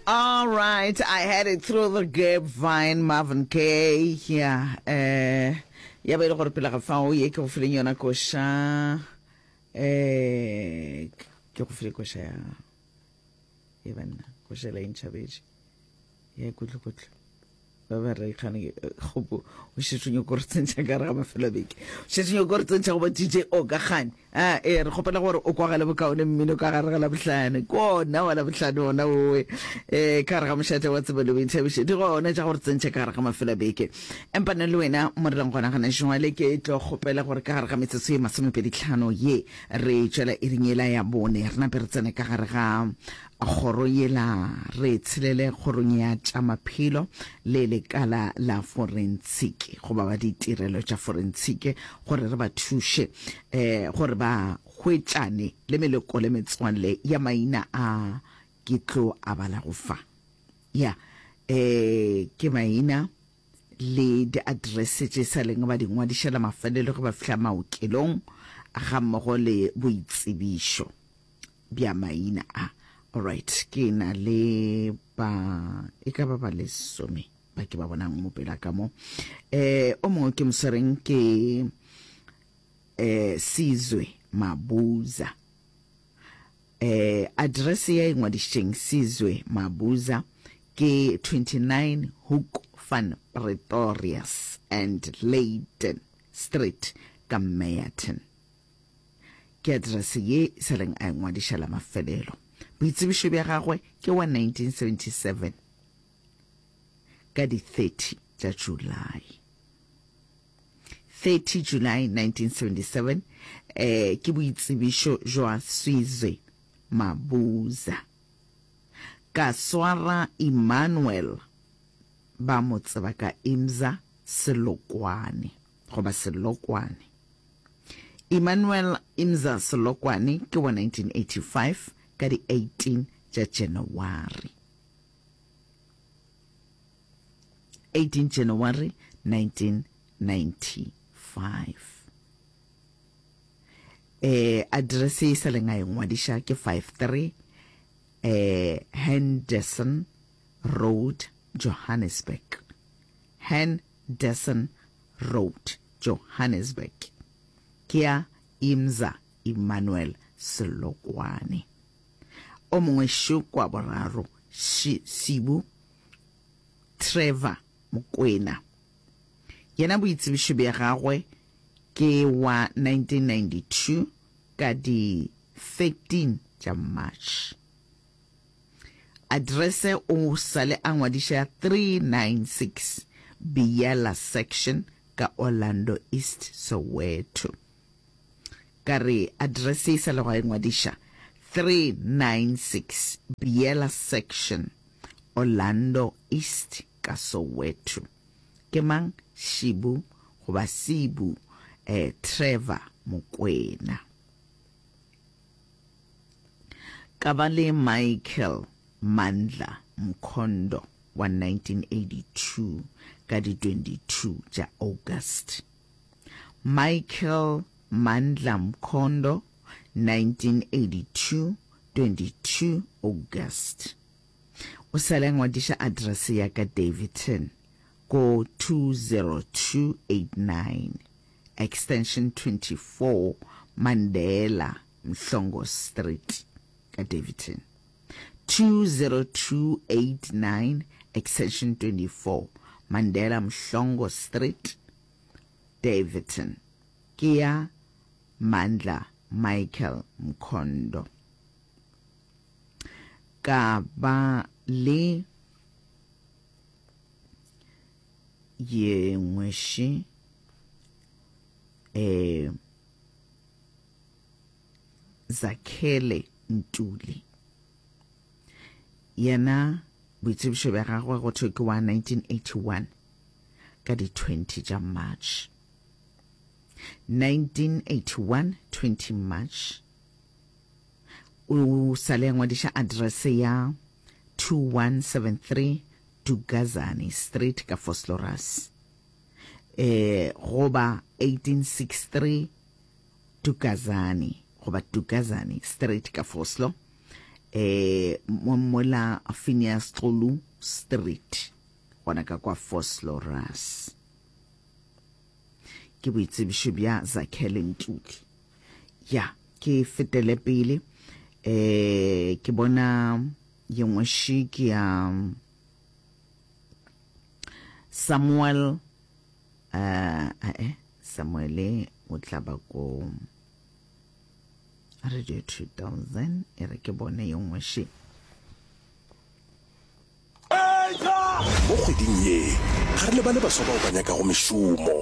All right, I had it through the grapevine, Marvin Gaye. Yeah, eh ya ba ile gore pele ga fao ye ke go fileng yona koša eh ke go file koša ya e banna koša la intšhabetše ya kutlo-kutlo ba ba re kgane kgopo o šetše nyoko re tsentšha ka re ga mafelo a beke o šetše nyoko re tsentšha go ba dj o ka kgane a e re kgopela gore o kwagale bokaone mmino ka gare ga labohlano ke ona wa labohlano ona owe um ka gare ga mošate wa tsebo le boithabišo di gona tša gore tsentšha ka gare ga mafelo a beke empa nna le wena mo re leng gona gana jwale ke tlo kgopela gore ka gare ga metsotso ye masomepeditlhano ye re tšwela iring yela ya bone re nape re tsene ka gare ga Kgoro yela re tshelele kgorong ya tša maphelo le lekala la forensiki goba ba ditirelo tša forensiki gore re ba thuše um gore ba hwetšane le meloko le metswalle ya maina a ke tlo a balago fa. Ya um ke maina le diaterese tše sa leng ba di ngwadiša la mafelelo ge ba fihla maokelong gammogo le boitsebišo. bja maina a. Alright, ke na le ba e ka ba ba lesome ba ke ba bonang mo pela ka mo. Eh, o mongwe ke moswereng ke eh Sizwe Mabuza. Eh, address ya e ngwadišitšeng Sizwe Mabuza ke 29 Hoek van Pretorius and Leyden Street ka Meyerton. Ke aterese ye e sa leng a e ngwadiša la mafelelo. Boitsebišo bja gagwe ke wa 1977 ka di 30 tša July. 30 July 1977 eh, ke boitsebišo jwa Sizwe Mabuza. Ka swara Emmanuel ba mo tseba ka Imza Selokwane goba Selokwane. Emmanuel Imza Selokwane ke wa 1985 ka di 18 tša Janawari. 18 January 1995. Eh, address e sa leng a e ngwadiša ke 53 eh, Henderson Road, Johannesburg. Henderson Road, Johannesburg. Ke ya Imza Emmanuel Selokwane. O mongwe šo kwa boraro, Sibu Trevor Mokwena. Yena boitsebišo bja gagwe ke wa 1992 ka di 13 tša March. Addrese o sale a ngwadiša 396 Biyela Section ka Orlando East, Soweto. Ka re addrese e sa lego a e ngwadiša 396 Biyela Section, Orlando East ka Soweto. Ke mang? Shibu goba Sibu eh, Trevor Mokwena. Ka ba le Michael Mandla Mkhondo wa 1982 ka di 22 tša August. Michael Mandla Mkhondo 1982 22 August. O sale a ngwadiša address ya ka Daveyton ko 20289 extension 24 Mandela Mhlongo Street ka Daveyton. 20289 extension 24 Mandela Mhlongo Street, Daveyton. Ke ya Mandla Michael Mkhondo. Ka ba le ye nngwe še eh Zakhele Ntuli. Yena boitsebišo bja gagwe go thwe ke wa 1981 ka di 20 tša March. 1981 20 March o sale a ngwadiša address ya 2173 Dugazane Street ka Vosloorus eh goba 1863 Dugazane goba Dugazane Street ka Vosloo. eh mola Phineas Xulu Street gona ka kwa Vosloorus. Ke boitsebišo bja Zakhele Ntuli. Ya, ke fetele pele eh ke bona ye nngwe še ke ya Samuel eh eh Samuele o tla ba ko Radio 2000 e re ke bone ye nngwe še. Mo kgweding ye, ga re lebale baswa bao ba nyakago mešomo,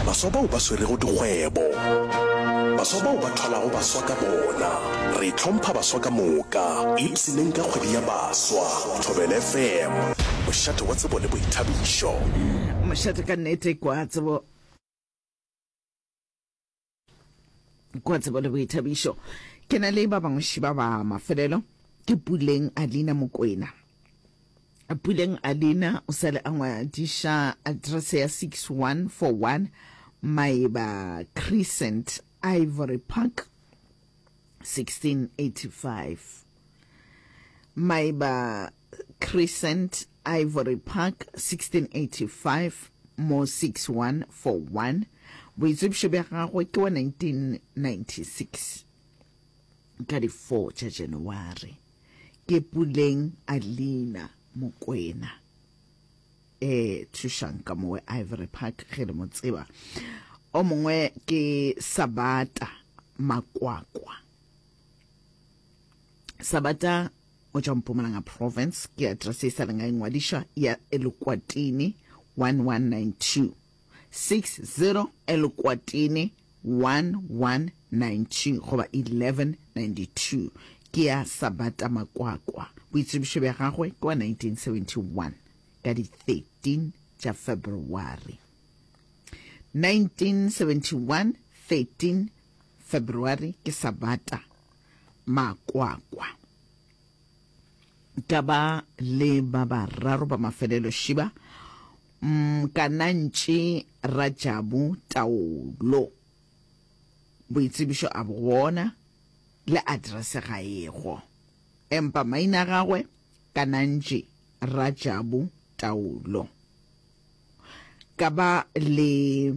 baswa bao ba swerego dikgwebo, baswa bao ba thwalago baswa ka bona. Re hlompha baswa ka moka. Ipshineng ka kgwedi ya baswa. Thobela FM, mošate wa tsebo le boithabišo. Mošate ka nnete kwa tsebo. Kwa tsebo le boithabišo. Ke na le ba bangwe šiba ba mafelelo ke Puleng Alina Mokwena. Puleng Alina o sale a ngwadiša address ya 6141 Maeba Crescent, Ivory Park 1685. Maeba Crescent, Ivory Park 1685 mo 6141. Boitsebišo bja gagwe ke wa 1996 ka di 4 tša January. Ke Puleng Alina Mokwena. E thušang ka mowe Ivory Park ge le mo tseba. O mongwe ke Sabata Makwakwa. Sabata o tšwa Mpumalanga Province, ke address e sa leng a ingwadišwa ya Elukwatini 1192. 60 Elukwatini 1192 goba 1192 ke ya Sabata Makwakwa. Boitsebišo bja gagwe ke wa 1971 ka di 13 tša February. 1971 13 February ke Sabata Makwakwa. Ka ba le ba bararo ba mafelelo Shiba, Mkanantši Rajabu Taolo. Boitsebišo a bo gona le address ga ego. Empa maina a gagwe Kanantši Rajabu Taolo. Ka ba le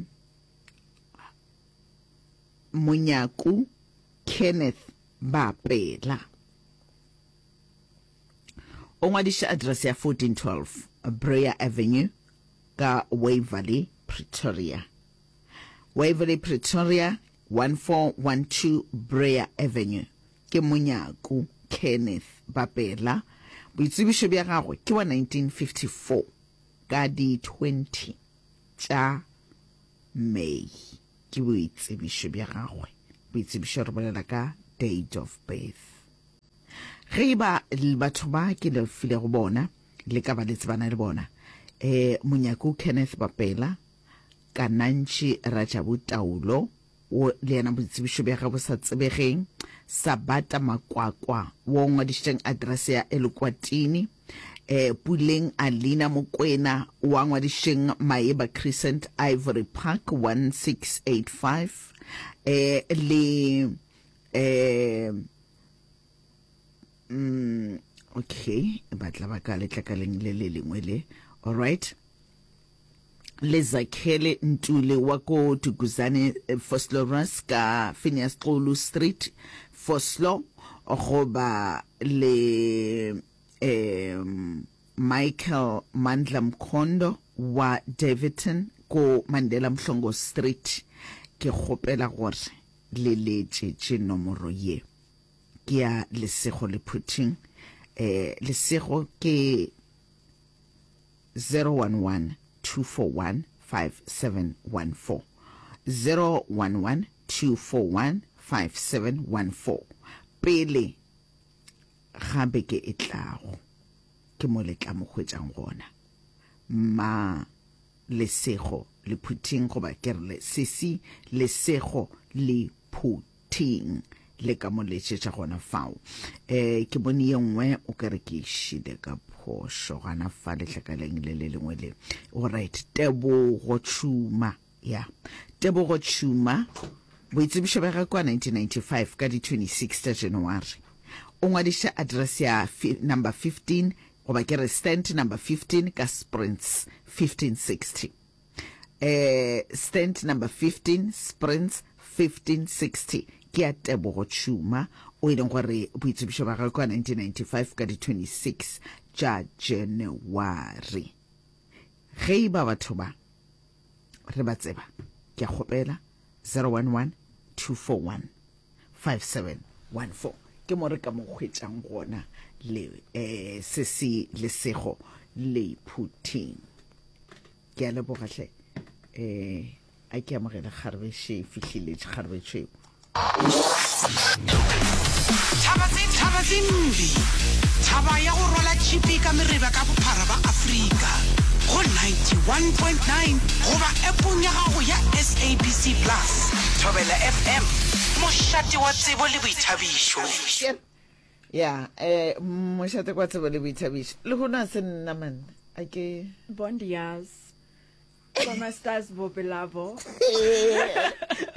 Monyaku Kenneth Bapela. O ngwadiša address ya 1412 Breyer Avenue ka Waverley, Pretoria. Waverley, Pretoria 1412 Breyer Avenue ke Monyaku Kenneth Bapela. Boitsebišo bja gagwe ke wa 1954 ka di 20 tša May. Ke boitsebišo bja gagwe. Boitsebišo re bolela ka date of birth. Ge e ba batho ba ke le filego bona le ka ba le tsebana le bona, eh, Monyaku Kenneth Bapela, Kanantši Rajabu Taulo, wo le yena boitsebišo bja gagwe bo sa tsebegeng, Sabata Makwakwa, wo o ngwadišitšeng address ya Elukwatini, eh, Puleng Alina Mokwena, wa ngwadišitšeng Maeba Crescent, Ivory Park, 1685, eh, le eh, mm, okay, ba tla ba ka letlakaleng le le lengwe le, alright. Le Zakhele Ntuli wa ko Duguzane eh, Vosloorus ka Phineas Xulu Street Vosloo goba le um Michael Mandla Mkhondo wa Daveyton ko Mandela Mhlongo Street. Ke kgopela gore le letšetše nomoro ye ke ya Lesego Lephuthing. Eh, Lesego ke 011 241 5714 011 241 5714 pele ga beke e tlago ke mo le tla mo hwetšang gona ma lesego lephuthing goba ke re le sesi lesego lephuthing le ka mo letšetša gona fao. Um ke bone ye nngwe o ka re ke šile ka phošo gana fa letlakaleng le le lengwe le. Alright, Tebogo Tšhuma, ya. Tebogo Tšhuma. Boitsebišo bja gagwe kua 1995 ka di 26 tša January. O ngwadišitše address ya number 15 goba ke re stand number 15 ka Sprints 1560. Eh, stand number 15 Sprints 1560 ke ya Tebogo Tšhuma o e leng gore boitsebišo bja gagwe kua 1995 ka di 26 tša January. Ge e ba batho ba re ba tseba, ke a kgopela 011 241 5714 ke mo re ka mo hwetšang gona le eh, se se lesego le phuthing. Ke a leboga hle eh, a ke amogele kgarebe še e fihlile kgarebe tšhweu. Thaba tse Thaba tse mbi, thaba ya go rwala tšhipi ka mereba ka bophara ba Afrika, go 91.9 goba appong ya gago ya SABC Plus. Thobela FM, mošate wa tsebo le boithabišo. Ya, eh, mošate kwa tsebo le boithabišo. Lehono a se nna man, a ke. Bon dias. Como estás, Bopelabo?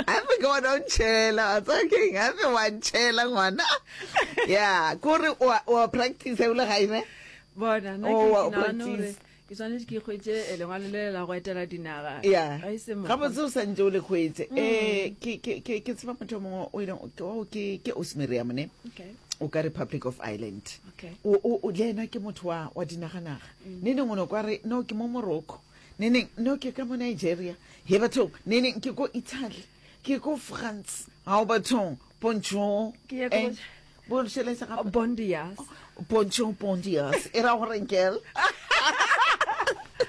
Gape ke bona o ntšhela, wa tseba keng? Gape wa ntšhela ngwana. Ya, kore o a- o a practice o le gae ne? Bona, nna Oh, ke wa o ke nagana gore practice. ke swanetše ke hwetše eh, lengwalo le la go etela dinaga. Ya. Ga e se mokgwa. Gabotse o santše o le hwetše. Eh, ke ke ke ke tseba motho o mongwe o ileng ke o ke ke Osmiriam ne? Okay. O ka Republic of Ireland. Okay. O o o le yena ke motho wa wa dinaganaga. Neneng o no kwa re no ke mo Morocco. Neneng no ke ka mo Nigeria. He bathong neneng ke ko Italy. Ke ko France. Hao bathong bonjour. Ke nyaka Eh, go- Bonjour gape. Bon dias. Bonjour bon dias. E ra gore girl.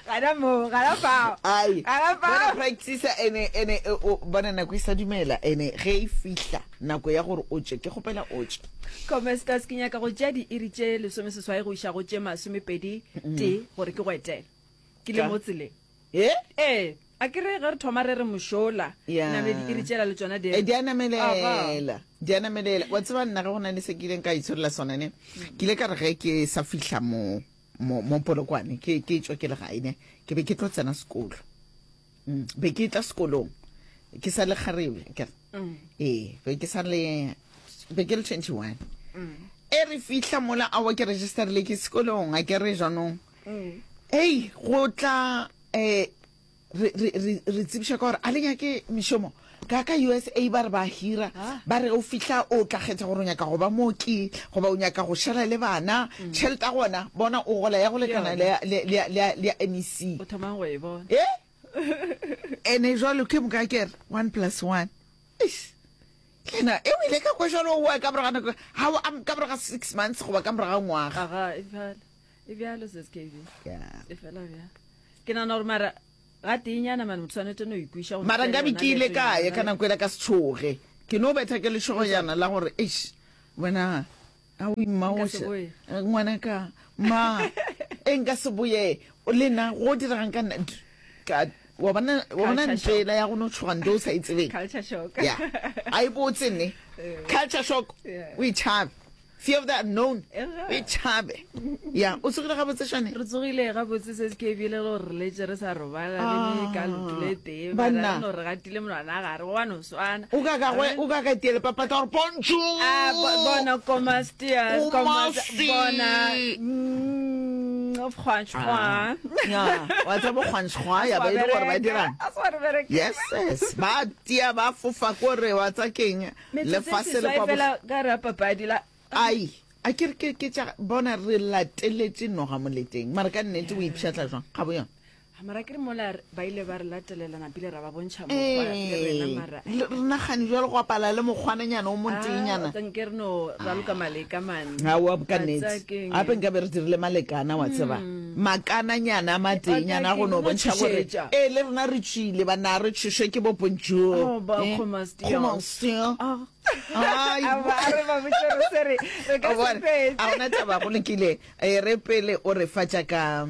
Gana mo, gana fao. Ai. Gana fao. Bona practice ene ene e, o bona nako e sa dumela ene ge e fihla nako ya gore o tše ke kgopela o tše. Comesters ke nyaka go tšea diiri tše lesomeseswai go iša go tše masomepedi tee gore ke go etele. Ke le Ka? mo tseleng. E? Ee, a ke re ge re thoma re re mošola, Ya. name diiri tšela le tšona di E, di a Aha. namelela di a namelela wa tseba nna ge go na le se ke ileng ka itsholola sona ne ke ile ka re ge ke sa fihla mo mo mo polokwane ke ke tšwa ke le gae ne ke be ke tlo tsena sekolo mm. be ke tla sekolong ke sa le kgarebe ke re Mm. ee be ke sa le be ke le 21 Mm. e re fihla mola awa ke registerile ke sekolong a ke re jaanong Mm. ei go tla um re, re, re, re tsebiša ka gore a le nyake mešomo ka ka USA ba re ba hira Ah. ba re o fihla o tla kgetha gore o nyaka go ba mooki goba o nyaka go šala le bana tšhelete ya gona bona o gola ya go lekana le ya- le- le ya- le ya- le ya MEC O thomang go e bona. e ene jalo ke moka ke re one plus one Eish. lena e o ile ka kwa jalo oa ka morago ga nako ga o am- ka morago ga six months goba ka morago ga ngwaga Aga, e bjalo. E bjalo sis KB. Yeah. E fela bjalo. Ke nagana gore mara ga teenyana mane motho tshwanetse no ikwiša go mara tšea nkabe yona ke ile leeto kae nyana ka le. nako ela ka se tšhoge ke no betha ke lešogonyana la gore eish wena a o imma Nka o se še- boye. eh, ngwanaka ma e nka se boye le nna go diregang ka nna D- ka wa bona wa bona Culture ntlo ela ya go no tšhoga nto o sa e tsebeng Culture shock. ya a e botse nne culture shock Yeah. o e tšhabe fear of the unknown Ega. o e tšhabe ya o tsogile gabotse shane Re tsogile gabotse se ke ebile le gore re letse re sa robala le ka leoto le tee mara Banna. re no re gatile monwana gare go no swana. o ka ka gwe- o ka ka tiele papata gore bonjour Ah, bo- bona comment stias, Comment comment bona si? mm, Francois. Ya, wa tseba kgwanšgwa ya ba e le gore ba dirang A se wa re bereka. yes yes ba tia ba fofa kore wa tsa keng Metsotso e lefase le seswai kwa fela ka re a papadi la ai a ke re ke ke tša bona re lateletše noga moleteng mara ka nnete o ipšhatla jwang ga bo yona Ah, mara ke re mola re- ba ile ba re latelela napile ra ba bontšha mokgwa le rena mara Ee, le- re nagane jalo go apala le mokgwananyana o monteenyana Ah, nke re no raloka maleka mane aowa ka Wa nnete tseba keng? gape nka be re dirile malekana wa tseba makananyana a mateenyana a go no Wa bontšha gore tšhošetša. ee le rena re tšwile banna re tšhošwe ke bo bonjour Oh, ba Eh, comment stias. comment stias? Ah. Ai, A ba- a re ba botše re se re re ka O se bone, fetše. a gona taba go lokile Eh, re pele o re fa tša ka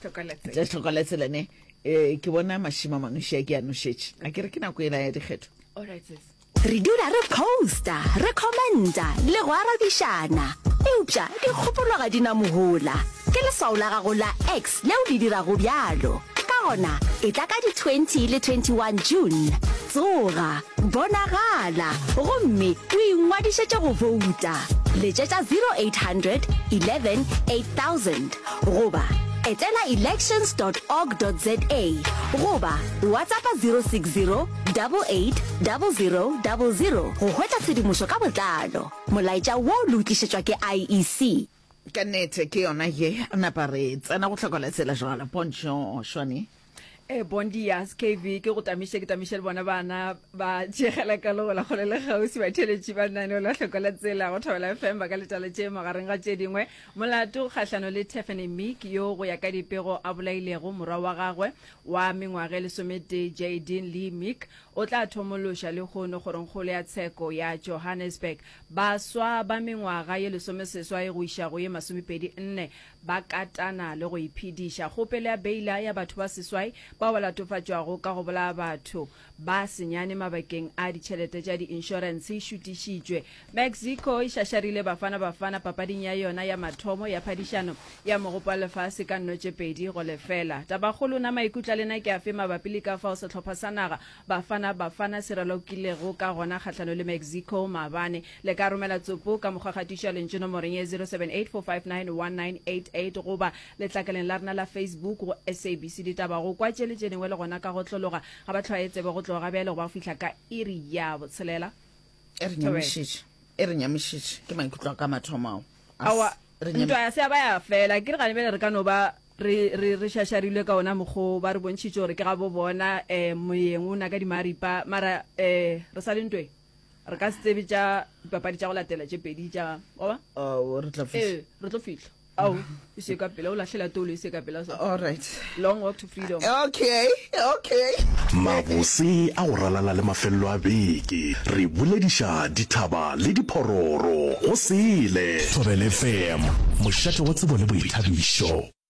Tlhokola tša tlhokola tsela ne um ke bona mašima manoši a ke a nošetše a ke re ke nako ela ya dikgetho All right, sis. Re dula re posta, re commenta le go arabišana. Eupša dikgopolo ga di na mohola. Ke leswao la gago la X leo le dirago bjalo. Ka. gona, etla ka di 20 le 21 June. Tsoga, bonagala, gomme o ingwadišetše go bouta. Letšetša 0800 11 8000 goba etela elections dot org dot za goba WhatsAppa 060 88 00 00 go hwetša tshedimošo ka botlalo. Molaetša wo le o tlišetšwa ke IEC. Ka nnete ke yona ye napa re tsena go hloka la tsela jwalo. Bonjour, Shwane. E eh, bon dia SKV ke go tamiše ke tamiše le bona bana ba tšegela ka le gola kgole le kgauswi batheletši ba lenaneo la hloko la tsela go Thobela FM ba ka letala tše magareng ga tše dingwe molato kgahlano le Tiffany Meek yo go ya ka dipego a bolailego morwa wa gagwe wa mengwaga e lesometee Jadyn Lee Meek o tla thomološa lehono kgorongkgolo ya tsheko ya Johannesburg Baswa ba mengwaga ye lesomeseswai go iša go ye masomepedi nne ba katana le go iphediša. Kgopelo ya beila ya batho ba seswai bao ba latofatšwago ka go bolaya batho ba senyane mabakeng a ditšhelete tša diinšorense e šutišitšwe. Mexico e šašarile Bafana Bafana papading ya yona ya mathomo ya phadišano ya Mogopo wa Lefase ka nno tše 2 go lefela. Tabakgolo, Na maikutlo a lena ke afe mabapi le ka fao sehlopha sa naga Bafana Bafana se ralokilego ka gona kgahlano le Mexico maabane. Le ka romela tsopo ka mokgwa kgatišo ya lentšu nomorong ye 0784591988 goba letlakaleng la rena la Facebook go SABC Ditaba go kwa tše le tše dingwe le gona ka go tlologa ga ba hlwaye tsebe go tloga ga bjale go ba go fihla ka iri ya botshelela. E re nyamišitše, e re nyamišitše ke maikutlo a ka mathomo ao. Aowa, ntwa ya se ya ba ya fela. Ke re gane bjale re ka no ba re, re, re šašarilwe ka ona mokgwa o, ba re bontšhitše gore ke gabo bona, um moyeng o na ka dimaripa, mara um re sa le ntweng. Re ka se tsebe tša dipapadi tša go latela tše pedi tša, wa ba? Oh, re tla fihla. Ee, re tlo fihla. Ao, e se ka pela, o lahlela toulo e se ka pela so. All right. Long walk to freedom. Okay, okay. Mabose a go ralala le mafelelo a beke, re bolediša dithaba le diphororo go sele. Thobela FM, mošate wa tsebo le boithabišo.